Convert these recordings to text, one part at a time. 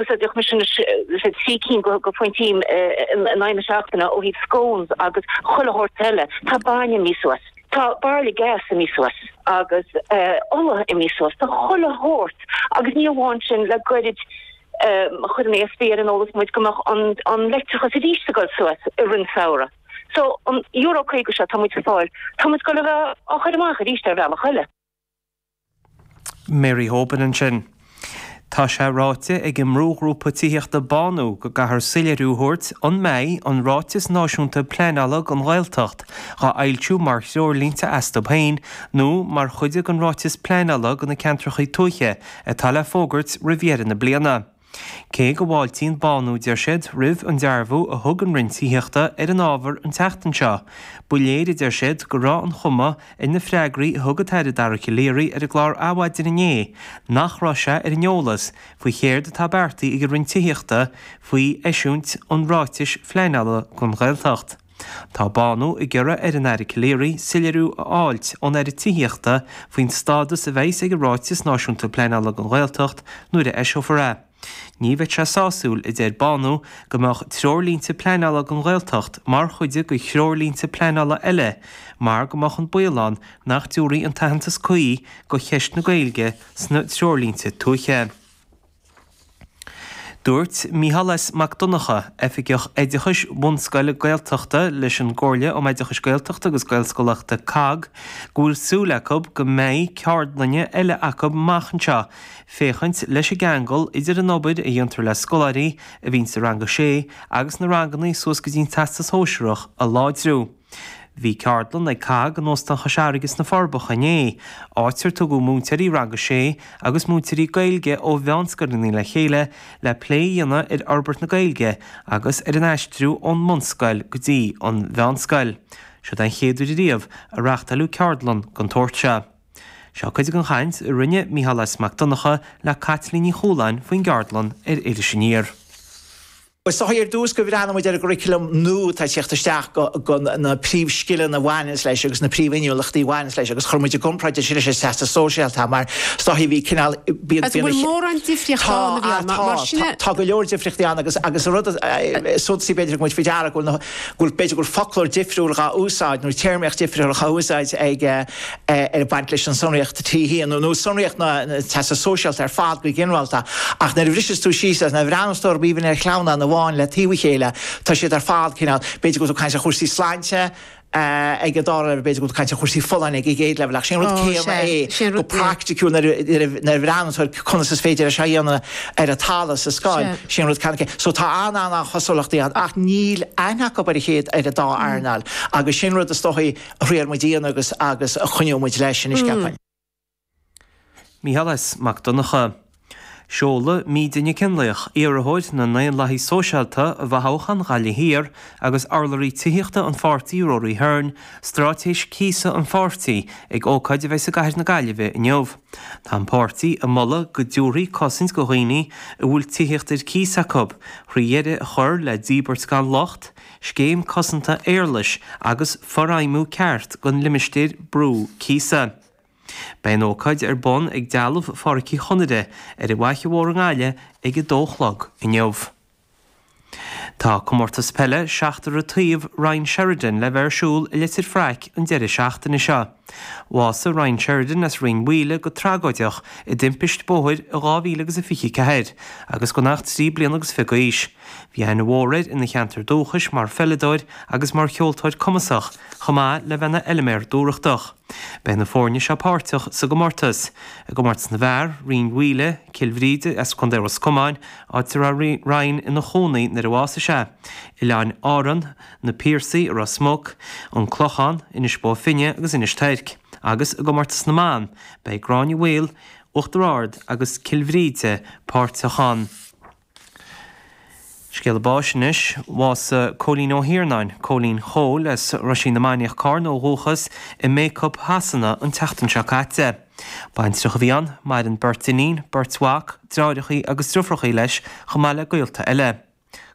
Úsáideadh mise anois 3 cinn go phointí in aghaidh na seachtaine ó thaobh scones agus chuile shórt eile. Tá bainne imithe suas. Tá bairille gas imithe suas agus ola imithe suas. Tá chuile shórt agus ní amháin sin, le goirid chuir an ESB ar an eolas muid go mbeadh an leictreachas arís ag dul suas i rith an samhradh. So an euro 50 seo atá muid ag fáil, tá muid ag dul a bheith á chur amach arís ar bhealach eile. Mary Hoban ansin. Tá sé ráite ag an mbrúghrúpa tithíochta Bánú go gcaithfear soiléiriú a thabhairt an mbeidh an Ráiteas Náisiúnta Pleanála don Ghaeltacht dhá fhoilsiú mar threoirlínte astu féin nó mar chuid den Ráiteas Pleanála do na Ceantracha Tuaithe atá le fógairt roimh dheireadh na bliana. Cé go bhfáiltíonn Bánú, deir siad, roimh an dearbhú a thug an Roinn Tithíochta ar an ábhar an tseachtain seo, ba léir, a deir siad, go raibh an chuma ar na freagraí a thug an tAire Dara Calleary ar an gclár Adhmhaidin inné nach raibh sé ar an eolas faoi chéard atá beartaithe ag an Roinn Tithíochta faoi eisiúint an ráitis phleanála don Ghaeltacht. Tá Bánú ag iarraidh ar an Aire Calleary soiléiriú a fháilt ón Aire Tithíochta faoin stádas a bheas ag an Ráiteas Náisiúnta Pleanála don Ghaeltacht nuair a eiseofar é. Ní bheadh sé sásúil, a deir Bánú, go mbeadh treoirlínte pleanála don Ghaeltacht mar chuid de threoirlínte pleanála eile mar go mbeadh an baol ann nach dtabharfaí an t-aitheantas cuí do cheist na Gaeilge sna treoirlínte tuaithe. Dúirt Mícheál S. Mac Donncha, Oifigeach Oideachais Bhunscoile Gaeltachta leis an gComhairle um Oideachais Gaeltachta agus Gaelscolaíochta, COGG, go bhfuil súil acu go mbeidh ceardlanna eile acu amach anseo féachaint leis an gceangal idir an obair a dhéantar le scoláirí a bhíonn sa rang a sé agus na ranganna suas go dtí an Teastas Shóisearach a láidriú. Bhí ceardlann ag COGG in Óstán Chois Fharraige sna Forbacha inné, áit ar tugadh múinteoirí Rang 6 agus múinteoirí Gaeilge ó mheánscoileanna le chéile le plé a dhéanamh ar fhorbairt na Gaeilge agus ar an aistriú ón mbunscoil go dtí an mheánscoil. Seod é an chéad uair ariamh a reáchtáileadh ceardlann den tsórt seo. Seo cuid den chaint a rinne Mícheál S. Mac Donncha le Caitlín Ní Chualáin faoin gceardlann ar Iris Aniar. Is dóigh ar dtús gur bhreathnaigh muid ar an gcurriculum nua atá ag teacht isteach go na príomhscileanna a bhaineanns leis agus na príomhinniúlachtaí a bhaineanns leis agus chuir muid i gcomparáid é sin leis an Teastas Sóisearach mar is dóigh bhí cineál bíonn Agus an bhfuil mórán difríochta ann a bhí ann mar sin Tá, tá go leor difríochtaí ann agus agus an rud is suntasaí b'fhéidir go muid faoi deara go bhfuil na go bhfuil b'fhéidir go bhfuil foclóir difriúil dhá úsáid nó téarmaíocht difriúil dhá úsáid ag ag baint leis an sonraíocht T1 nó sonraíocht na Teastas Sóisearach ar fad go ginearálta ach nuair a bhriseas tú síos é, nuair a bhreathnas tú orthu even ar shleamhnán amháin le taobh a chéile, tá siad ar fad cineál, b'fhéidir go bhfuil tú ag caint ar chúrsaí sláinte ag an dara leibhéal, b'fhéidir go bhfuil tú ag caint ar chúrsaí folláine ag an gcéad leibhéal ach sé an rud céanna é go praiticiúil nuair a bhreathnas tú ar conas is féidir é seo a dhéanamh ar an talamh sa scoil, sé an rud céanna é. So tá an-an-an-chosúlachtaí ann ach níl aithne acu ar a chéad ar an dá earnáil agus sin rud is dóichí a thriail muid a dhéanamh agus agus a choinneoidh muid leis anois, ceapaim. Mícheál S. Mac Donncha. Seolfaidh Míde Nic Fhionnlaoich, iarrthóir na nDaonlathaithe Sóisialta i bhfothoghchán Ghaillimh Thiar agus urlabhraí tithíochta an pháirtí Rory Hearne, straitéis cíosa an pháirtí ag ócáid a bheidh i gcathair na Gaillimhe inniu. Tá an páirtí ag moladh go dtabharfaí cosaint do dhaoine a bhfuil tithíocht ar cíos acu, thrí dheireadh a chur le díbirt gan locht, scéim cosanta éarlais agus forfheidhmiú ceart den limistéar brú cíosa. Beidh an ócáid ar bun ag Dealbh Phádraic Uí Chonaire ar an bhFaiche Mhór i nGaillimh ag a dó a chlog inniu. Tá comórtas peile seachtar an taobh Ryan Sheridan le bheith ar siúl i Leitir Fraic an deireadh seachtaine seo. Bhásaigh Ryan Sheridan as Rinn Mhaoile go tragóideach i dtimpist bóthair i 2024 agus gan ach 3 bliana agus fiche d'aois. Bhí aithne mhór air ina cheantar dúchais mar pheileadóir agus mar cheoltóir cumasach, chomh maith le bheith ina fheilméar dúthrachtach. Beidh na foirne seo páirteach sa gcomórtas. I gcomórtas na bhfear, Rinn Mhaoile, Cill Bhríde as Contae Ros Comáin, áit a raibh Ryan ina chónaí nuair a bhásaigh sé, Oileáin Árann, Na Piarsaigh i Ros Muc, An Clochán, Inis Bó Finne agus Inis Toirc. Agus i gcomórtas na mban, beidh Gráinne Mhaol, Uachtar Ard agus Cill Bhríde páirteach ann. Scéala báis anois. Bhásaigh Cóilín Ó hIarnáin, Cóilín Chóil, as Roisín na Mainiach, Cárna ó dhúchas, i mBacup Shasana an tseachtain seo caite. Baintreach a bhí ann, maireann beirt iníon, beirt mhac, deartháireachaí agus driofrachaí leis chomh maith le gaolta eile.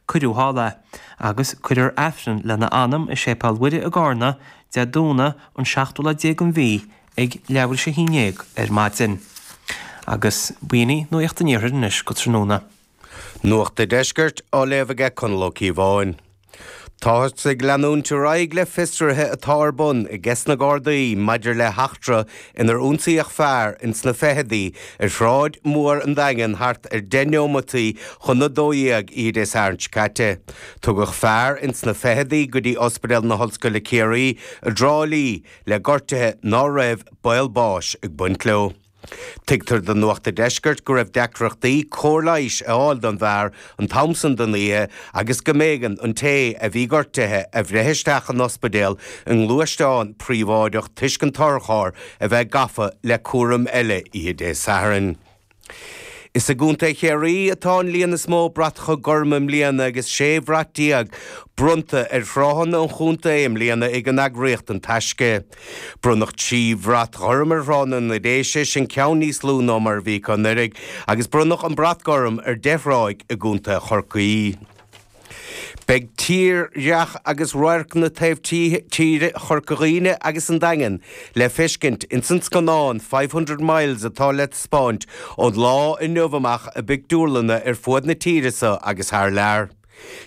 Cuireadh thall é, agus cuirfear Aifreann lena anam i Séipéal Mhuire i gCárna, Dé Domhnaigh, an seachtú lá déag den mhí, ag leathuair tar éis a haon déag ar maidin. Agus b'in í Nuacht an Iarthair anois go tráthnóna. Nuacht a' Deiscirt á léamh aige Conall Ó Cíobháin. Táthas ag leanúint ar aghaidh le fiosruithe atá ar bun ages na Gardaí maidir le heachtra inar ionsaíodh fear ins na fichidí ar Shráid Mhór an Daingin thart ar 10 neomataí chun a 12 oíche Dé Sathairn seo caite. Tugadh fear ins na fichidí go dtí Ospidéal na hOllscoile Ciarraí i dTrá Lí le gortuithe ná raibh baol báis ag baint leo. Tuigtear do Nuacht a' Deiscirt go raibh deacrachtaí cóir leighis a fháil don bhfear an t-am san den oíche agus go mb'éigean an té a bhí gortaithe a bhreith isteach an ospidéal i ngluaisteán príobháideach toisc an t-otharcharr a bheith gafa le cúram eile oíche Dé Sathairn. Is i gContae Chiarraí atá an líon is mó bratacha gorma i mbliana agus 16 bhrat bronnta ar thránna an chontae i mbliana ag an eagraíocht An Taisce. Bronnadh 3 bhrat ghorm ar thránna na Déise, sin ceann níos lú ná mar a bhí acu anuraidh, agus bronnadh an brat gorm ar 10 thráigh i gContae Chorcaí. Beidh tírdhreach agus radharcanna taobh tíre Chorca Dhuibhne agus an Daingin le feiscint ins an scannán 500 Miles atá le taispeáint ón lá inniu amach i bpictiúrlanna ar fuaid na tíre so agus thar lear.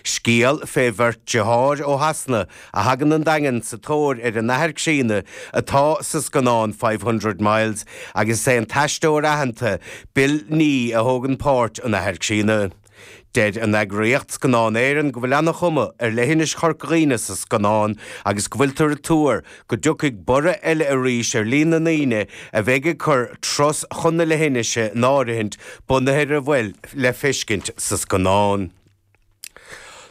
Scéal fé bheirt deartháir ó Shasana a thagann 'on Daingean sa tóir ar a n-athair críonna atá sa scannán 500 Miles agus is é an t-aisteoir aitheanta Bill Nighy a thógann páirt an athar críonna. Deir an eagraíocht Scannán Éireann go bhfuil ana-chuma ar leithinis Chorca Dhuibhne sa scannán agus go bhfuiltear ag tuar go dtiocfaidh borradh eile arís ar líon na ndaoine a bheidh ag cur turas chun na leithinise in áirithint bunaithe ar a bhfuil le feiscint sa scannán.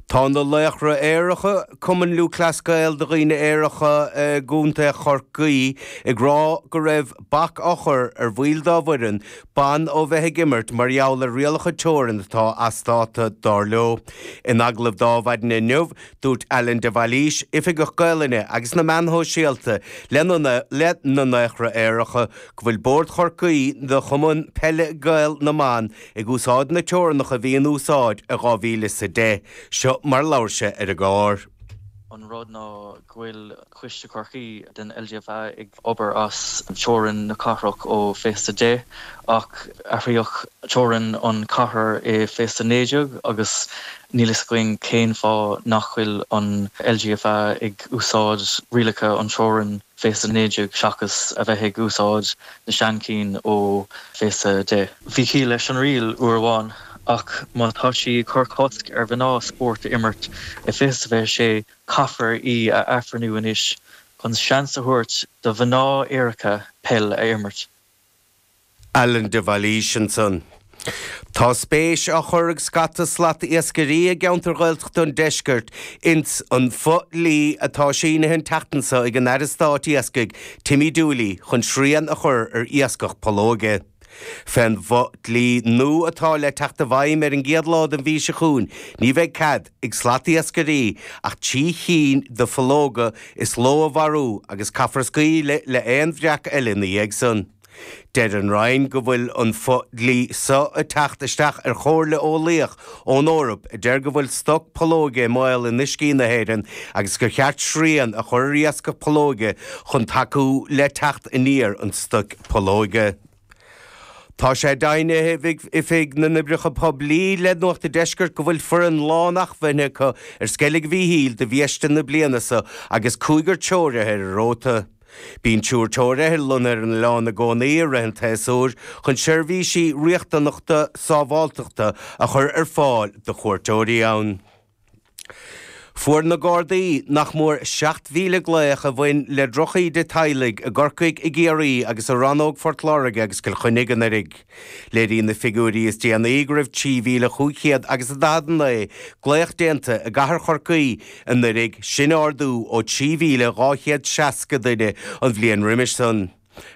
Tá na Laochra Aeracha, Cumann Lúthchleas Gael do dhaoine aeracha i gContae Chorcaí, ag rá go raibh bac á chur ar bhaill dá bhfoireann ban ó bheith ag imirt mar gheall ar rialacha teorann atá as dáta, dar leo. In agallamh d'Adhmhaidin inniu, dúirt Alan de Bhailís, Oifigeach Gaelainne agus na Meán Shóisialta le na Laochra Aeracha, go bhfuil Bord Chorcaí do Chumann Peile Gael na mBan ag úsáid na teorannacha a bhí in úsáid i 2010. Seo mar labhair sé ar an gclár. An rud ná go bhfuil Coiste Chorcaí den LGFA ag obair as teorainn na cathrach ó 2010 ach athraíodh teorainn an chathair i 2019 agus níl fhios againn cén fáth nach bhfuil an LGFA ag úsáid rialacha an teorainn 2019 seachas a bheith ag úsáid na seanchinn ó 2010. Bhí ciall leis an riail uair amháin ach má tá sí ag cur cosc ar mhná spórt a imirt i 2026 Caithfear í a athbhreithniú anois chun seans a thabhairt do mhná aeracha peil a imirt. Alan de Bhailís ansan. Tá spéis á chur ag scata slat-iascairí i gceantair Ghaeltachta an deiscirt ins an fo-dhlí atá sínithe an tseachtain seo ag an Aire Stáit Iascaigh Timmy Dooley chun srian a chur ar iascach pollóige. Fén bhfo-dhlí nua atá le teacht i bhfeidhm ar an gcéad lá den mhí seo chugainn, ní bheidh cead ag slatiascairí ach 3 chinn de phollóga is ló a mharú agus caithfear scaoileadh le aon bhreac eile ina dhiaidh san. Deir an Roinn go bhfuil an fo-dhlí so ag teacht isteach ar chomhairle eolaíoch ón Eoraip a deir go bhfuil stoc pollóige i mbaol in uiscí na hÉireann agus gur cheart srian a chur ar iascach pollóige chun tacú le teacht aniar an stoic pollóige. Tá sé deimhnithe ag Oifig na nOibreacha Poiblí le Nuacht an Deiscirt go bhfuil foireann lán-acmhainne acu ar Sceilg Mhíchíl do bhiaiste na bliana seo agus cúigear treoraithe ar an róta. Bíonn triúr treoraithe lonnaithe ar an oileán i gcónaí i rith an tséasúir chun seirbhísí riachtanacha sábháilteachta a chur ar fáil do chuairteoirí ann. Fuair na Gardaí nach mór 7,000 glaoch a bhain le drochíde teaghlaigh i gCorcaigh, i gCiarraí agus i rannóg Phort Láirge agus Cill Chainnigh anuraidh. Léiríonn na figiúirí is déanaí go raibh 3,500 agus 49 glaoch déanta i gcathair Chorcaí anuraidh, sin ardú ó 3,260 duine an bhliain roimis san.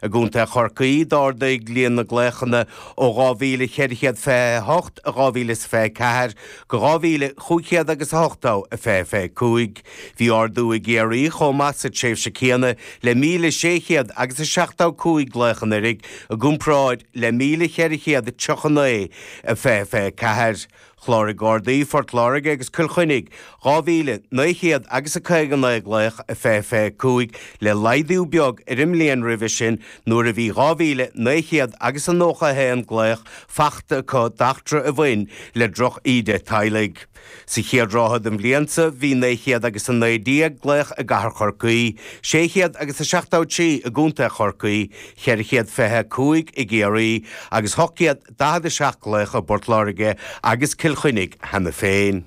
I gContae Chorcaí, d'ardaigh líon na nglaochanna ó 2,428 i 2024 go 2,500 agus 80 i 2025. Bhí ardú i gCiarraí chomh maith sa tréimhse céanna le 1,600 agus 75 glaoch anuraidh i gcomparáid le 1,439 i 2024. Chláraigh Gardaí Phort Láirge agus Cill Chainnigh 2,900 agus a 59 glaoch i 2025, le laghdú beag ar an mbliain roimhe sin nuair a bhí 2,900 agus a 91 glaoch fachta acu d'eachtra a bhain le droch-íde teaghlaigh. Sa chéad ráithe den bhliain seo bhí 900 agus 19 glaoch i gcathair Chorcaí, 600 agus a 73 i gContae Chorcaí, 425 i gCiarraí agus 847 glaoch i bPort Láirge agus Cill Chainnigh cheana féin.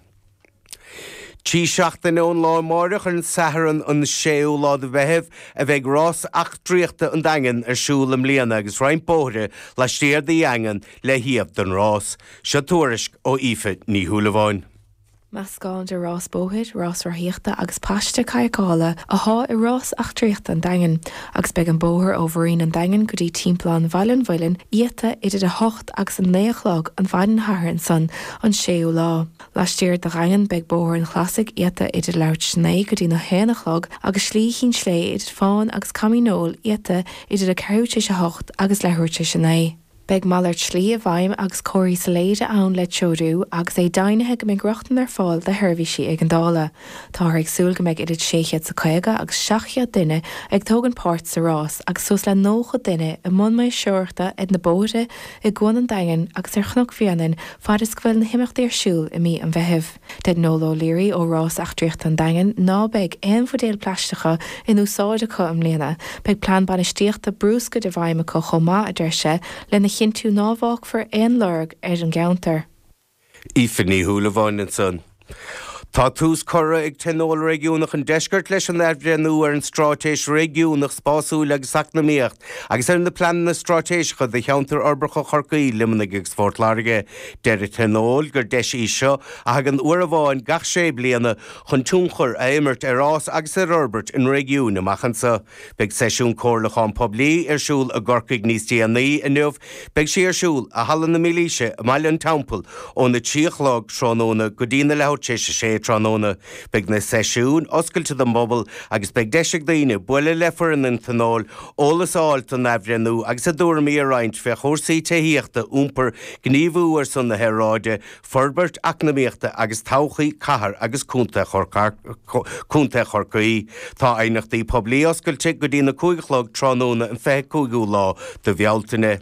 Trí seachtaine ón lá amáireach, ar an Satharn an 6ú lá de Mheitheamh, a bheidh Rás Eachtraíochta an Daingin ar siúl i mbliana agus roinnt bóithre laistiar de Dhaingean le shuíomh don rás. Seo tuairisc ó Aoife Ní Shúilleabháin. Meascán de rás bóthair, rás rothaíochta agus paiste cadhcála athá i Rás Eachtraíochta an Daingin, agus beidh an bóthar ó Mhuirín an Daingin go dtí Timpeallán Bhaile an Mhuilinn iata idir 8 agus 9 a chlog an mhaidin Shathairn san, an 6ú lá. Laistiar de Dhaingean beidh Bóthar an Chlasaigh iata idir leathuair tar éis a 9 go dtí na haon a chlog agus Slí Chinn Slé idir Fán agus Caimín Óil iata idir a ceathrú tar éis a hocht agus leathuair tar éis a 9. Beidh malairt slí i bhfeidhm agus comharthaí soiléire ann le treorú agus é deimhnithe go mbeidh rochtain ar fáil do sheirbhísí éigeandála. Táthar ag súil go mbeidh idir 650 agus 700 duine ag tógaint páirt sa rás agus suas le 90 duine i mbun maoirseoireachta ar na bóithre i gCuan an Daingin agus ar Chnoc Bhréanainn fad is go bhfuil na himeachtaí ar siúl i mí an Mheithimh. Deir Noel O'Leary ó Rás Eachtraíochta an Daingin ná beidh aon bhuidéil plaisteacha in úsáid acu i mbliana. Beidh plean bainistíochta brúscair i bhfeidhm acu chomh maith, a deir sé, lena chinntiú ná bhfágfar aon lorg ar an gceantar. Aoife Ní Shúilleabháin ansan. Tá tús curtha ag Tionól Réigiúnach an Deiscirt leis an athbhreithniú ar an Straitéis Réigiúnach Spásúil agus Eacnamaíocht agus ar na Pleananna Straitéiseacha do Cheantair Uirbeacha Chorcaí, Luimnigh agus Phort Láirge. Deir an Tionól gur deis í seo, a thagann uair amháin gach sé bliana, chun tionchar a imirt ar fhás agus ar fhorbairt an réigiúin amach anseo. Beidh seisiún comhairliúcháin poiblí ar siúl i gCorcaigh níos déanaí inniu. Beidh sé ar siúl i Halla na Mílaoise i mBaile an Teampaill óna 3 a chlog tráthnóna go dtí na leathuair tar éis a sé tráthnóna. Beidh na seisiúin oscailte don bpobal agus beidh deis ag daoine bualadh le foireann an Tionóil, eolas a fháil don athbhreithniú agus a dtuairimí a roinnt fé chúrsaí tithíochta, iompair, gníomhú ar son na haeráide, Forbairt eacnamaíochta agus todhchaí cathair agus contae Chorcaí. Tá aighneachtaí poiblí oscailte go dtí na 5 a chlog tráthnóna an 25ú lá de Bhealtaine.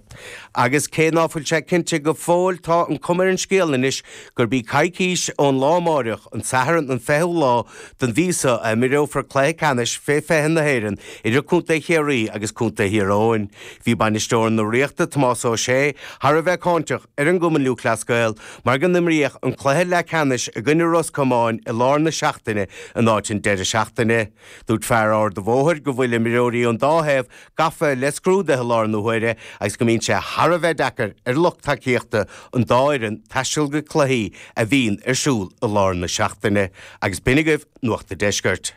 Agus cé ná fuil sé cinnte go fóill tá an cuma ar an scéal anois gurb í coicís ón lá amáireach, an Satharn an 20ú lá den mhí seo a imreofar cluiche ceannais fé 20 na hÉireann idir Contae Chiarraí agus Contae Thír Eoghain. Bhí bainisteoir na Ríochta, Tomás Ó Sé, thar a bheith cáinteach ar an gCumann Lúthchleas Gael mar go n-imríodh an cluiche leathcheannais i gcoinne Ros Comáin i lár na seachtaine in áit an deireadh seachtaine. Dúirt fear Ard a' Bhóthair go bhfuil imreoirí ón dá thaobh gafa le scrúduithe i láthair na huaire agus go mbíonn sé thar a bheith deacair ar lucht tacaíochta an dá fhoireann taisteal go cluichí a bhíonn ar siúl i lár na seachtaine. Agus b'in agaibh Nuacht a' Deiscirt.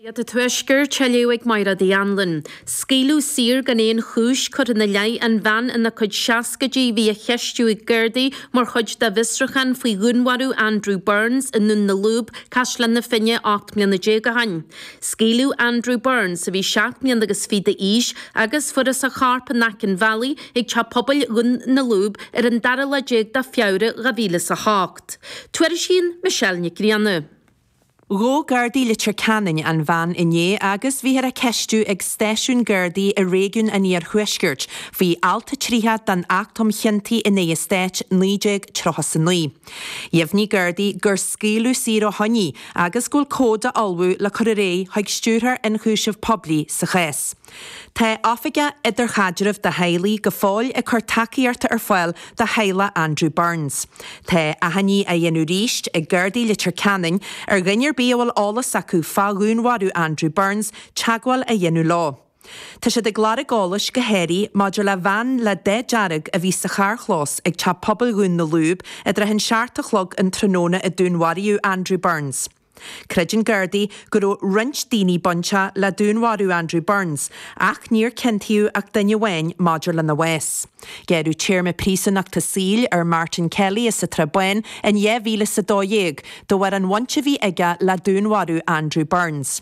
Nuacht an Tuaiscirt á léamh ag Máire Uí Anluain. Scaoileadh saor gan aon chúis curtha ina leith an bhean ina cuid seascaidí a bhí á cheistiú ag Gardaí mar chuid de bhfiosrúchán faoi dhúnmharú Andrew Burns i nDún na Lúb, Caisleán na Finne, 18 mbliana ó shin. Scaoileadh Andrew Burns, a bhí 7 mbliana agus fiche d'aois, agus fuarthas a chorp in aice an bhealaigh ag teach pobail Dhún na Lúb ar an dara lá déag de Feabhra 2008. Tuairisíonn Michelle Nic Grianna. Ghabh Gardaí Leitir Ceanainn an bhean inné agus bhíthear á ceistiú ag stáisiún Gardaí i réigiún an Iarthuaiscirt faoi Alt 30 den Acht um Chiontaí in aghaidh an Stáit, 1939. Dheimhnigh Gardaí gur scaoileadh saor ó shoin í agus go bhfuil comhad á ullmhú le cur ar aghaidh chuig Stiúrthóir Ionchúiseamh Poiblí sa chás. Tá Oifigeach Idirchaidrimh do Theaghlaigh go fóill ag cur tacaíochta ar fáil do theaghlach Andrew Burns. Tá achainí á dhéanamh arís ag Gardaí Leitir Ceanainn ar dhuine ar bith a bhfuil eolas acu fá dhúnmharú Andrew Burns teagmháil a dhéanamh leo. Tá siad ag lorg eolais go háirithe maidir le veain le dath dearg a bhí sa charrchlós ag Teach Pobail Dhún na Lúb i dtrátha an seacht a chlog an tráthnóna a dúnmharaíodh Andrew Burns. Creideann Gardaí go raibh roinnt daoine bainteach le dúnmharú Andrew Burns ach níor ciontaíodh ach duine amháin maidir lena bhás. Gearradh téarma príosúnachta saoil ar Martin Kelly as an tSrath Bán in 2012 de bharr an bhaint a bhí aige le dúnmharú Andrew Burns.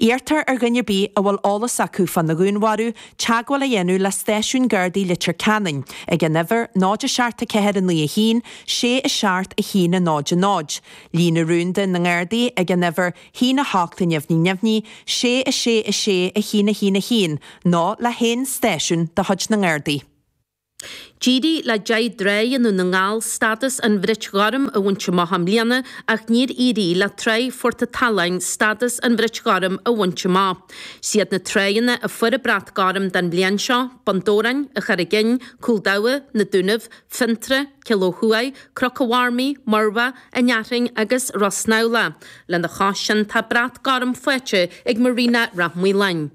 Iarrtar ar dhuine ar bith a bhfuil eolas acu fána dhúnmharú teagmháil a dhéanamh le Stáisiún Gardaí Leitir Ceanainn ag an uimhir 0 7 4 9 1 6 7 1 0 0, líne rúnda na nGardaí ag an uimhir 1 8 neamhní neamhní 6 6 6 1 1 1 nó le haon stáisiún de chuid na nGardaí. D'éirigh le 10 dtrá i nDún na nGall stádas an Bhrait Ghoirm a bhaint amach i mbliana ach níor éirigh le Tráigh Phort an tSalann stádas an Bhrait Ghoirm a bhaint amach. 'Siad na tráigheanna a fuair an Brat Gorm don bhliain seo, Bun Dobhráin, an Charraig Fhinn, Cúl Dabha, Na Dúnaibh, Fionntrá, Cill Ó Thuaidh, Cnoc an Mharmaí, Muirbheach, An Fhearthainn agus Ros Snamhlach. Lena chois sin tá Brat Gorm faighte ag Marina Rath Maoláin.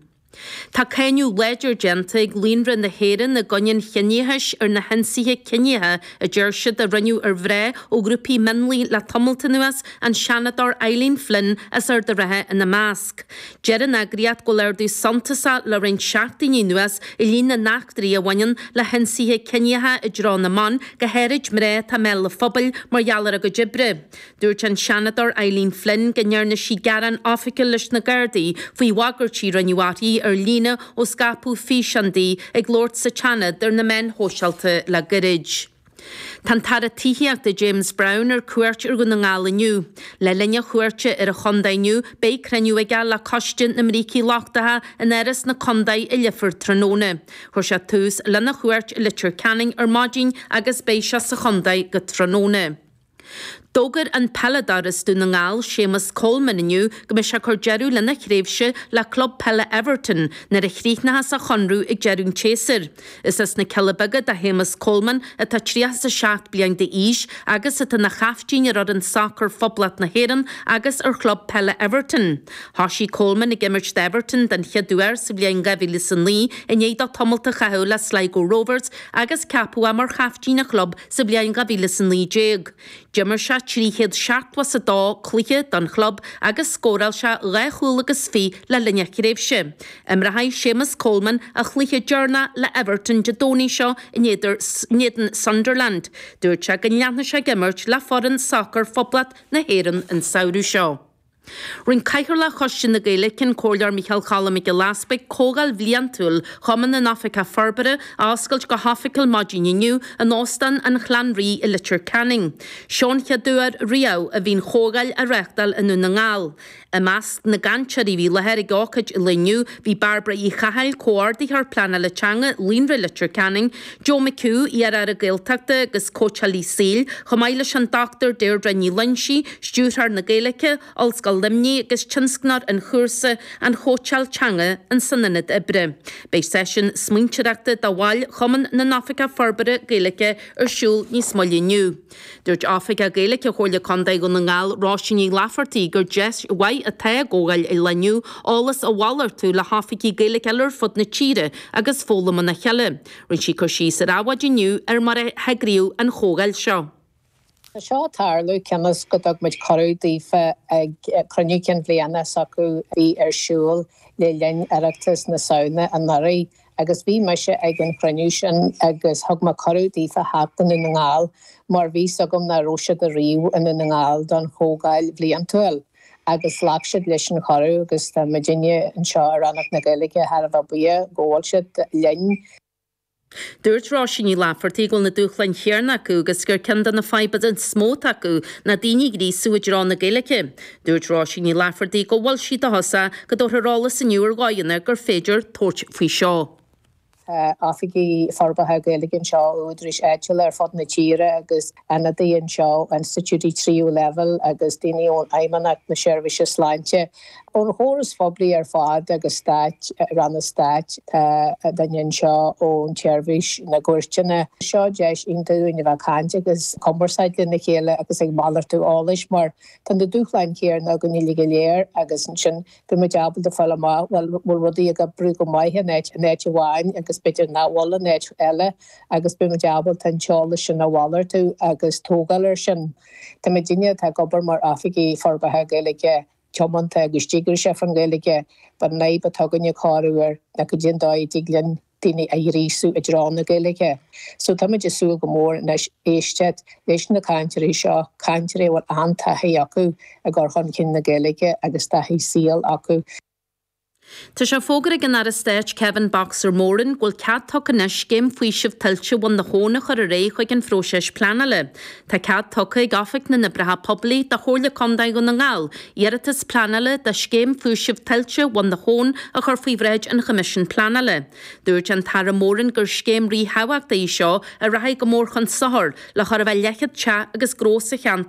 Tá cáineadh láidir déanta ag Líonra na hÉireann i gcoinne an chiníochais ar na hionsaithe ciníocha a deir siad a rinneadh ar mhná ó ghrúpaí mionlaigh le tamalt anuas, an Seanadóir Eileen Flynn as Ard an Rátha ina measc. Deir an eagraíocht go bhfuil ardú suntasach le roinnt seachtainí anuas i líon na n-eachtraí a bhaineann le hionsaithe ciníocha i dtreo na mban, go háirid mná atá i mbéal an phobail mar gheall ar a gcuid oibre. Dúirt an Seanadóir Eileen Flynn go ndearna sí gearán oifigiúil leis na Gardaí faoi bhagairtí a rinneadh uirthi ar líne ó scaipeadh físeán di ag labhairt sa tSeanad ar na meáin shóisialta le gairid. Tá an tAire Tithíochta James Browne ar cuairt ar Dhún na nGall inniu. Le linn a chuairte ar an chontae inniu beidh cruinniú aige le Coiste na mBrící Lochtacha in Áras na Contae i Leifear tráthnóna. Chuir sé tús lena chuairt i Leitir Ceanainn ar maidin agus beidh sé sa chontae go tráthnóna. D'fhógair an peileadóir as Dún na nGall, Séamus Coleman inniu go mbeidh sé ag cur deireadh lena thréimhse le club peile Everton nuair a chríochnóchas a chonradh ag deireadh an tséasúir. Is as na Cealla Beaga do Shéamus Coleman atá 37 bliain d'aois agus atá ina chaiftín ar fhoireann sacair Phoblacht na hÉireann agus ar chlub peile Everton. Thoisigh Coleman ag imirt d'Everton den chéad uair sa bhliain 2009 i ndiaidh dó tamalt a chaitheamh le Sligo Rovers agus ceapadh é mar chaiftín an chlub Sa bhliain 2019, d'imir sé 372 cluiche don chlub agus scóráil sé dhá chúl agus fiche le linn a thréimhse. Imreoidh Séamus Coleman a chluiche deireanach le Everton Dé Domhnaigh seo in éadan Sunderland. Dúirt sé go leanfaidh sé ag imirt le foireann sacair Phoblacht na hÉireann an samhradh seo. Rinne Cathaoirleach Choiste na Gaeilge, an Comhairleoir Micheál Cholm Mac Giolla Easbuig, Comhdháil Bhliantúil Chumann na nOifigeach Forbartha a oscailt go hoifigiúil maidin inniu in Óstán an Chlann Rí i Leitir Ceanainn. Seo an chéad uair riamh a bhí an chomhdháil á reáchtáil i nDún na nGall. I measc na gcainteoirí a bhí i láthair ag ócáid an lae inniu bhí Bairbre Uí Chathail, Comhordaitheoir Pleanála Teanga, Líonra Leitir Ceanainn, Joe McHugh, iar-aire Gaeltachta agus cóitseálaí saoil, chomh maith leis an Dr Deirdre Ní Loingsigh, Stiúrthóir na Gaeilge, Ollscoil Luimnigh agus tionscnóir an chúrsa An Chóitseáil Teanga san Ionad Oibre. Beidh seisiún smaointeoireachta do bhaill Chumann na nOifigeach Forbartha Gaeilge ar siúl níos moille inniu. Dúirt Oifigeach Gaeilge Chomhairle Contae Dhún na nGall, Róisín Ní Laifeartaigh, gur deis mhaith atá i gcomhdháil an lae inniu eolas a mhalartú le hoifigigh Gaeilge eile ar fud na tíre agus foghlaim óna chéile. Rinne sí cur síos ar Adhmhaidin inniu ar mar a heagraíodh an chomhdháil seo. Tá seo ag tarlú cionn is go dtug muid cuireadh daofa ag cruinniú cinn bhliana s'acu a bhí ar siúl le linn Oireachtas na Samhna anuraidh agus bhí mise ag an chruinniú sin agus thug mé cuireadh daofa theacht go Dún na nGall mar bhí 's agam nach raibh siad ariamh i nDún na nGall don chomhdháil bhliantúil agus ghlac siad leis an chuireadh agus tá muidinne anseo i Rannóg na Gaeilge thar a bheith buíoch go bhfuil siad linn. Dúirt Róisín Ní Laifeartaigh go bhfuil na dúshláin chéanna acu agus gur ceann de na fadhbanna is mó atá acu ná daoine a ghríosú i dtreo na Gaeilge. Dúirt Róisín Ní Laifeartaigh go bhfuil sí dóchasach go dtabharfar eolas inniu ar dhóigheanna gur féidir tabhairt faoi seo. Tá oifigigh forbartha Gaeilge anseo ó údaráis áitiúla ar fud na tíre agus ionadaithe anseo ó institiúidí tríú leibhéal agus daoine ón Fheidhmeannacht na Seirbhíse Sláinte, ón chóras phoiblí ar fad agus stáit, ranna stáit. Tá duine anseo ón tseirbhís na gcúirteanna. Seo deis iontach dúinn a bheith ag caint agus cumarsáid lena chéile agus ag malartú eolais mar tá na dúshláin chéanna againn uilig go léir agus ansin Bhí muid ábalta fáil amach bhfuil bhfuil rudaí ag oibriú go maith in áit in áit amháin agus b'fhéidir nach bhfuil in áit eile agus beidh muid ábalta an t-eolas sin a mhalartú agus tógáil air sin. Tá muidinne atá ag obair mar oifigigh forbartha Gaeilge tiomanta agus díograiseach faoin Ghaeilge but an fhadhb atá againne corruair ná goidé an dóigh a dtig linn. daoine a ghríosú i dtreo na Gaeilge. So táimid ag súil go mór anois éisteacht leis na cainteoirí seo, cainteoirí a bhfuil an-taithí acu i gcur chun cinn na Gaeilge agus taithí saoil acu. Tá sé fógartha ag an Aire Stáit Kevin 'Boxer' Moran go bhfuil cead tugtha anois scéim faoisimh tuilte Bhun na hAbhann a chur ar aghaidh chuig an phróiseas pleanála. Tá cead tugtha ag Oifig na nOibreacha Poiblí do Chomhairle Contae Dhún na nGall iarratas pleanála do scéim faoisimh tuilte Bhun na hAbhann a chur faoi bhráid an Choimisiúin Pleanála. Dúirt an tAire Moran gur scéim ríthábhachtach í seo a rachaidh go mór chun sochair le chóir a bheith leathchéad teach agus gnó sa cheantar.